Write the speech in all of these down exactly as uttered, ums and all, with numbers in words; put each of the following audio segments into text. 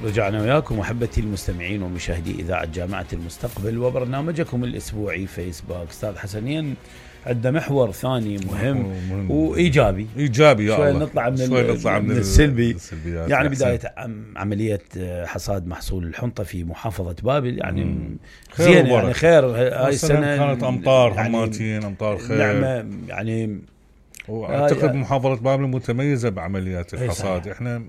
رجعنا وياكم احبتي المستمعين ومشاهدي اذاعه جامعه المستقبل وبرنامجكم الاسبوعي فيسبوك. استاذ حسنين عندنا محور ثاني مهم, مهم وايجابي ايجابي يا شوي الله. نطلع من, شوي نطلع من, من السلبي. يعني بدايه عمليه حصاد محصول الحنطه في محافظه بابل يعني زين يعني خير هاي السنه كانت امطار حماتين امطار خير نعمه يعني. واعتقد محافظه بابل متميزه بعمليات الحصاد. احنا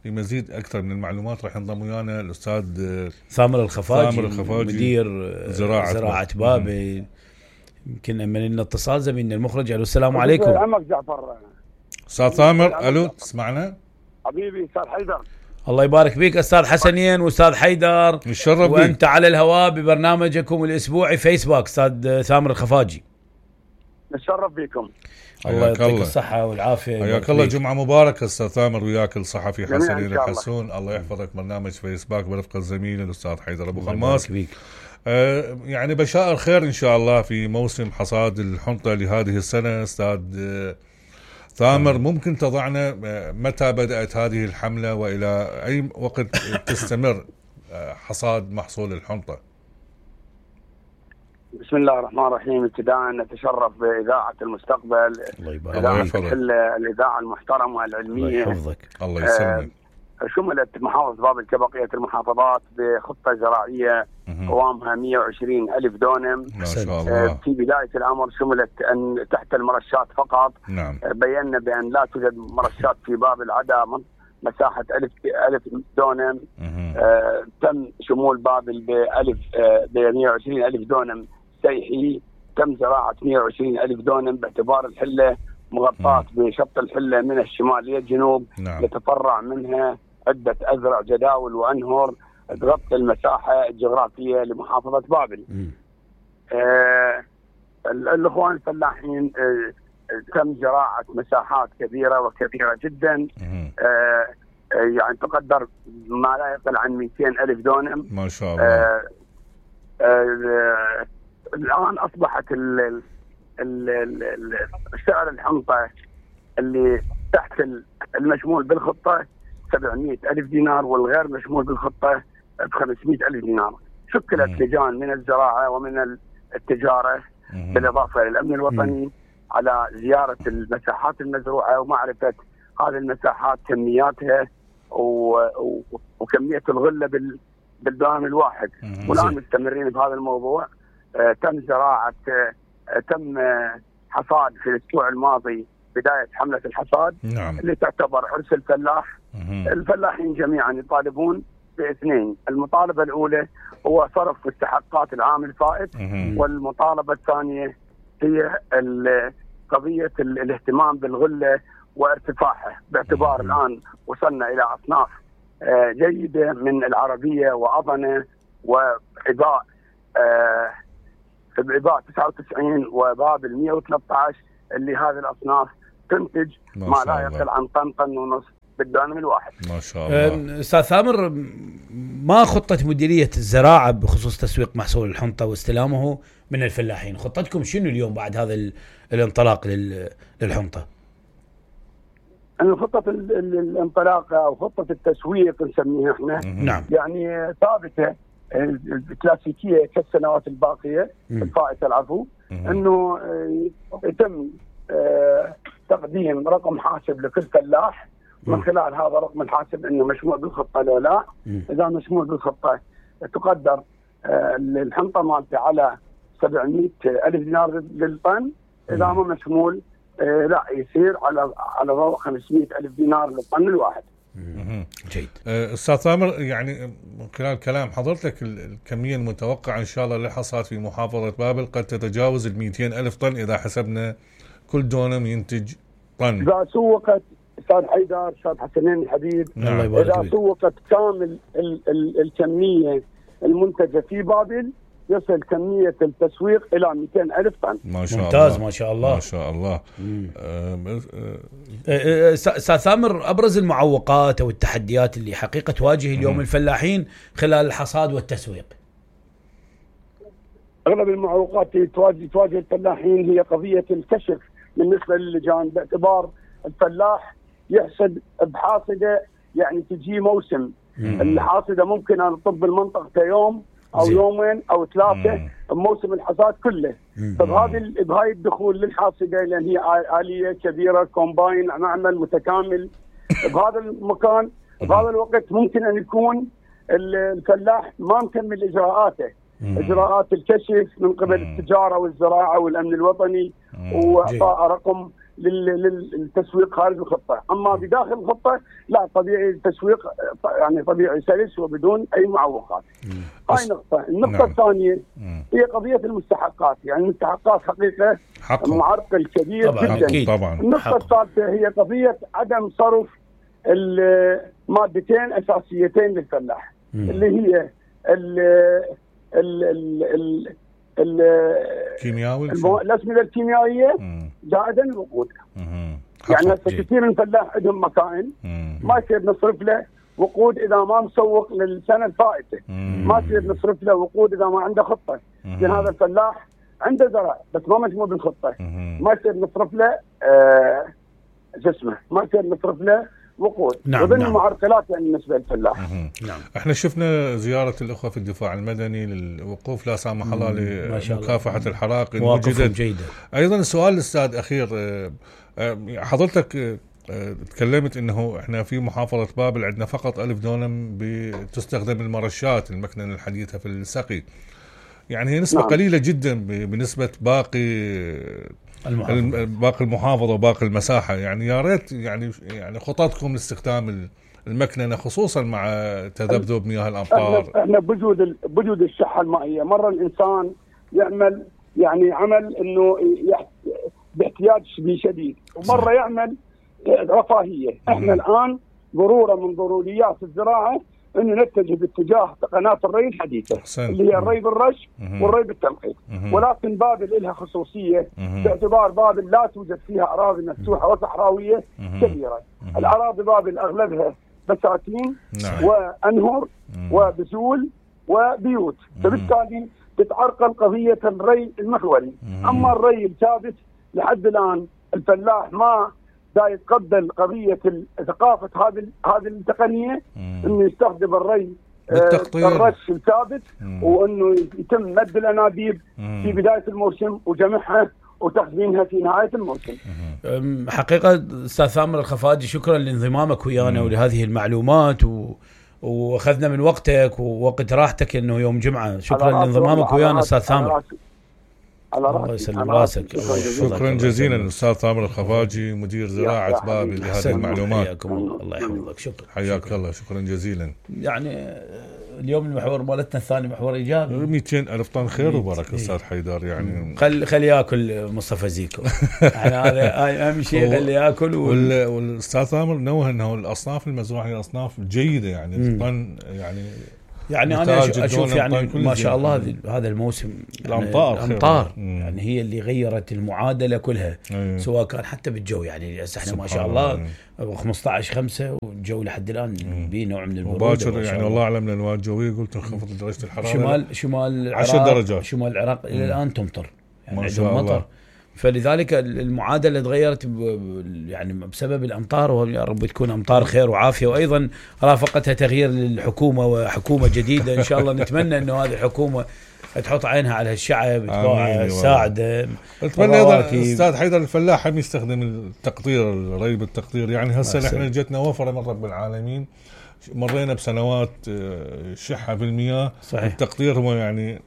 لمزيد اكثر من المعلومات راح ينضم ويانا الاستاذ ثامر الخفاجي, ثامر الخفاجي مدير زراعه, زراعة بابل. يمكن من لنا اتصال زميلنا المخرج. الو السلام عليكم. عمك جعفر. استاذ ثامر الو تسمعنا؟ حبيبي استاذ حيدر. الله يبارك فيك استاذ حسنين واستاذ حيدر. نتشرف بك وانت على الهواء ببرنامجكم الاسبوعي فيسبوك استاذ ثامر الخفاجي. نتشرف بكم. الله يعطيك الصحة والعافية. حياك الله. جمعة مباركة استاذ ثامر وياك الصحفي حسنين الحسون. الله يحفظك. برنامج فيسبوك برفقة الزميل الاستاذ حيدر ابو خماس. آه يعني بشائر خير ان شاء الله في موسم حصاد الحنطة لهذه السنة. استاذ آه ثامر ممكن تضعنا آه متى بدأت هذه الحملة والى اي وقت تستمر آه حصاد محصول الحنطة؟ بسم الله الرحمن الرحيم. ابتداء نتشرف باذاعه المستقبل. الله يبارك فيك. الاذاعه المحترمه والعلميه. الله يحفظك. الله يسلمك. آه شملت محافظه بابل كبقيه المحافظات بخطه زراعيه قوامها مئة وعشرين ألف دونم. ما شاء الله. آه في بدايه الامر شملت ان تحت المرشات فقط. نعم. آه بينا بان لا توجد مرشات في بابل عدا مساحه ألف ألف دونم. آه تم شمول بابل بألف آه ب مئة وعشرين ألف دونم سيحي. تم زراعة مئة وعشرين ألف دونم باعتبار الحلة مغطاة بشط الحلة من الشمال للجنوب. نعم. يتفرع منها عدة أزرع جداول وأنهر تغطي المساحة الجغرافية لمحافظة بابل. آه الأخوان الفلاحين آه تم زراعة مساحات كبيرة وكبيرة جدا. آه يعني تقدر ما لا يقل عن مئتين ألف دونم. ما شاء الله. آه آه الآن أصبحت ال ال ال سعر الحنطة اللي تحت المشمول بالخطة سبعمئة ألف دينار والغير مشمول بالخطة بخمسمئة ألف دينار. شكلت لجان من الزراعة ومن التجارة بالإضافة للأمن الوطني على زيارة المساحات المزروعة ومعرفة هذه المساحات كمياتها وكمية الغلة بالدوام الواحد. والآن مستمرين بهذا الموضوع. آه تم زراعة آه تم آه حصاد في الأسبوع الماضي بداية حملة الحصاد. نعم. اللي تعتبر عرس الفلاح. مم. الفلاحين جميعا يطالبون باثنين. المطالبة الأولى هو صرف مستحقات العام الفائت. مم. والمطالبة الثانية هي قضية الاهتمام بالغلة وارتفاعها باعتبار مم. الآن وصلنا إلى أصناف آه جيدة من العربية وأضنة وعباء آه بعباء تسعة وتسعين وبابل مئة وثلاثة عشر اللي هذه الأصناف تنتج ما, ما لا يقل عن طن طن ونص بالدانم الواحد. ما شاء الله. أستاذ ثامر ما خطة مديرية الزراعة بخصوص تسويق محصول الحنطة واستلامه من الفلاحين؟ خطتكم شنو اليوم بعد هذا الانطلاق للحنطة؟ أن خطة الانطلاق أو خطة التسويق نسميها احنا. نعم. يعني ثابتة الكلاسيكية كالسنوات الباقية الفائتة العفو. انه يتم تقديم رقم حاسب لكل فلاح من خلال هذا الرقم الحاسب انه مشمول بالخطة لو لا. اذا مشمول بالخطة تقدر الحنطة مالته على سبعمئة ألف دينار للطن. اذا ما مشمول لا يصير على على ضوء خمسمئة ألف دينار للطن الواحد. جيد. استاذ ثامر يعني من خلال كلام حضرتك الكميه المتوقعه ان شاء الله للحصاد في محافظه بابل قد تتجاوز ال مئتين ألف طن اذا حسبنا كل دونم ينتج طن. اذا سوقت استاذ حيدر استاذ حسنين الحبيب. نعم. اذا سوقت كامل ال ال الكميه المنتجه في بابل يصل كمية التسويق إلى مئتين ألف طن. ما شاء ممتاز الله. ما شاء الله. ما شاء الله. أستاذ ثامر أبرز المعوقات أو التحديات اللي حقيقة تواجه اليوم الفلاحين خلال الحصاد والتسويق؟ أغلب المعوقات تواجه تواجه الفلاحين هي قضية الكشف بالنسبة للجان باعتبار الفلاح يحصد بحاصدة يعني تجي موسم الحاصده ممكن ان تطب المنطقه يوم او زي. يومين او ثلاثه بموسم الحصاد كله. فبهذه بهاي الدخول للحاصده لان هي اليه كبيره كومباين معمل متكامل بهذا المكان بهذا الوقت ممكن ان يكون الفلاح ما مكمل اجراءاته اجراءات الكشف من قبل التجاره والزراعه والامن الوطني واعطاء رقم للتسويق خارج الخطه، اما بداخل الخطه لا طبيعي التسويق يعني طبيعي سلس وبدون اي معوقات. هاي نقطه، النقطه نعم. الثانيه هي قضيه المستحقات، يعني المستحقات حقيقه معرقل كبير طبعًا جدا. أكيد. طبعا النقطه الثالثه هي قضيه عدم صرف المادتين اساسيتين للفلاح مم. اللي هي ال ال ال ال الكيميائي الاسمده الكيميائيه زائدا الوقود. يعني هسه كثير من الفلاح عندهم مكائن ما يصير نصرف له وقود اذا ما مسوق للسنه الفائته، ما يصير نصرف له وقود اذا ما عنده خطه، لان هذا الفلاح عنده زرع بس ما مجموع بالخطه، ما يصير نصرف له آه جسمه، ما يصير نصرف له وقود. نعم وضمن نعم. المعرقلات يعني بالنسبه للفلاح. نعم. احنا شفنا زياره الاخوه في الدفاع المدني للوقوف لا سامح الله لمكافحه الحرائق الموجوده جيده. ايضا السؤال الاستاذ اخير، حضرتك تكلمت انه احنا في محافظه بابل عندنا فقط ألف دونم بتستخدم المرشات المكننه الحديثه في السقي، يعني هي نسبه نعم. قليله جدا بالنسبه باقي المحافظة. باقي المحافظه وباقي المساحه، يعني يا ريت يعني يعني خططكم لاستخدام المكننه خصوصا مع تذبذب مياه الامطار. احنا, احنا بوجود بوجود الشحه المائيه مره الانسان يعمل يعني عمل انه باحتياج شديد ومره يعمل رفاهيه. احنا الان ضروره من ضروريات الزراعه انه نتجه باتجاه قناه الري الحديثه حسن. اللي هي الري بالرش والري بالتنقيط، ولكن بابل لها خصوصيه باعتبار بابل لا توجد فيها اراضي مفتوحه وصحراويه كبيره. الاراضي بابل اغلبها بساتين نعم. وانهر وبذول وبيوت، فبالتالي تتعرقل قضيه الري المحوري. اما الري الثابت لحد الان الفلاح ما دا يتقبل قضيه ثقافه هذه هذه التقنيه انه يستخدم الري بالتقطير الرش الثابت وانه يتم مد الانابيب في بدايه الموسم وجمعها وتخزينها في نهايه الموسم. حقيقه استاذ ثامر الخفاجي شكرا لانضمامك ويانا ولهذه المعلومات و... واخذنا من وقتك ووقت راحتك انه يوم جمعه. شكرا لانضمامك ويانا استاذ ثامر. الله يسلم راسك. شكرا جزيلا الاستاذ ثامر الخفاجي مدير زراعه بابل لهذه المعلومات. حياكم الله. الله يحفظك. شكرا حياك الله. شكرا جزيلا. يعني اليوم المحور مالتنا الثاني محور ايجابي. مئتين ألف طن خير وبركه استاذ حيدر. يعني خل خلي ياكل مصطفى زيكو. يعني هذا اهم شيء خلي ياكل. وال... والاستاذ ثامر نوه انه الاصناف المزروعه هي اصناف جيده، يعني الطن يعني يعني انا اشوف يعني ما شاء الله يعني هذا الموسم الامطار يعني الامطار يعني هي اللي غيرت المعادله كلها. أيه. سواء كان حتى بالجو، يعني هسه احنا ما شاء الله خمسة عشر خمسة والجو لحد الان به نوع من البروده وباكر يعني والله اعلم الانواع الجويه قلت انخفضت درجه الحراره. شمال شمال العراق عشر درجات شمال العراق الى الان تمطر، يعني ما شاء الله. فلذلك المعادله تغيرت يعني بسبب الامطار، ويا رب تكون امطار خير وعافيه، وايضا رافقتها تغيير للحكومه وحكومه جديده ان شاء الله. نتمنى انه هذه الحكومه تحط عينها على الشعب تساعده. اتمنى ايضا استاذ حيدر الفلاح هم يستخدم التقطير الري بالتقطير. يعني هسه احنا جتنا وفره من رب العالمين، مرينا بسنوات شحه بالمياه. صحيح. التقطير هو يعني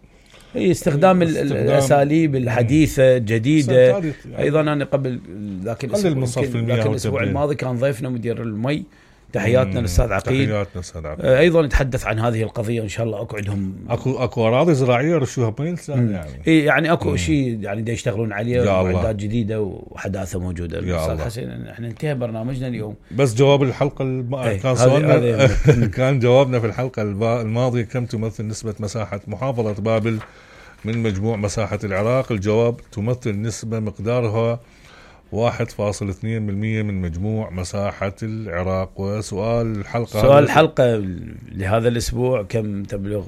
هي استخدام, استخدام الاساليب الحديثه الجديده. يعني ايضا انا قبل ذاك الاسبوع, الأسبوع الماضي كان ضيفنا مدير المي، تحياتنا للاستاذ عقيد. تحياتنا استاذ عقيد. ايضا نتحدث عن هذه القضيه وان شاء الله اقعدهم. اكو اكو اراضي زراعيه رشوها بميلس يعني اي يعني اكو شيء يعني دا يشتغلون عليه ومعدات جديده وحداثه موجوده. استاذ حسين احنا انتهى برنامجنا اليوم، بس جواب الحلقه الم... كان سؤالنا كان جوابنا في الحلقه الماضيه كم تمثل نسبه مساحه محافظه بابل من مجموع مساحه العراق؟ الجواب تمثل نسبه مقدارها واحد فاصل اثنين بالمئة من مجموع مساحة العراق. وسؤال الحلقة سؤال الحلقة لهذا الأسبوع كم تبلغ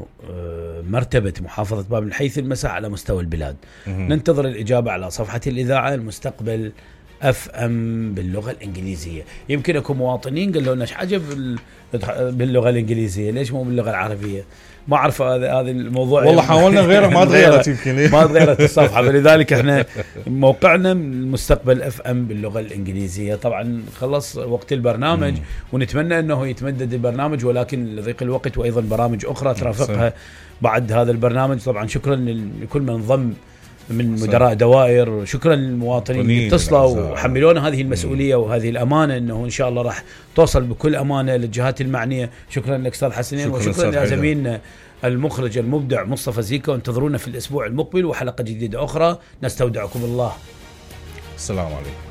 مرتبة محافظة بابل من حيث المساحة على مستوى البلاد؟ مه. ننتظر الإجابة على صفحة الإذاعة. المستقبل اف ام باللغه الانجليزيه. يمكن اكو مواطنين قالوا لنا ايش عجب باللغه الانجليزيه، ليش مو باللغه العربيه؟ ما اعرف هذا هذا الموضوع والله حاولنا غيره ما تغيرت يمكن ما تغيرت الصفحه، فلذلك احنا موقعنا المستقبل اف ام باللغه الانجليزيه. طبعا خلص وقت البرنامج مم. ونتمنى انه يتمدد البرنامج، ولكن لضيق الوقت وايضا برامج اخرى ترافقها بعد هذا البرنامج. طبعا شكرا لكل من انضم من مدراء دوائر، شكرا للمواطنين اللي اتصلوا وحملونا هذه المسؤوليه وهذه الامانه، انه ان شاء الله راح توصل بكل امانه للجهات المعنيه. شكرا لك استاذ حسنين، وشكرا لزميلنا المخرج المبدع مصطفى زيكا، وانتظرونا في الاسبوع المقبل وحلقه جديده اخرى. نستودعكم الله. السلام عليكم.